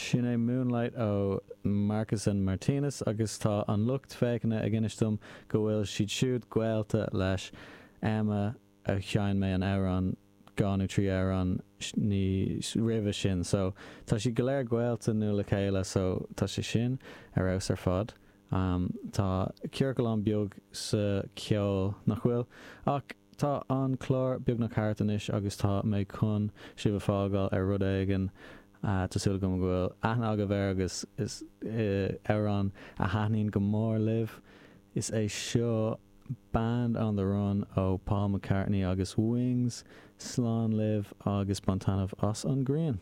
Sin é Moonlight ó Marcus and Martinus agus tá an lucht féachana ag inis dom go bhfuil siad siúd gaolta leis Emma a sheinn mé an amhrán 2 nó 3 amhrán níos roimhe sin so tá siad go léir gaolta nó le chéile so tá sé sin ar fheabhas ar fad. Tá ciorcalán beag sa cheol, nach bhfuil? Ach tá an clár beagnach thart anois agus tá mé chun sibh a fhágáil ar rud éigin. Tá súil agam go bhfuil aithne agaibh air agus is amhrán a thaitníonn go mór libh. Is é seo Band on the Run ó Paul McCartney agus Wings. Slán libh agus bain taitneamh as an ghrian.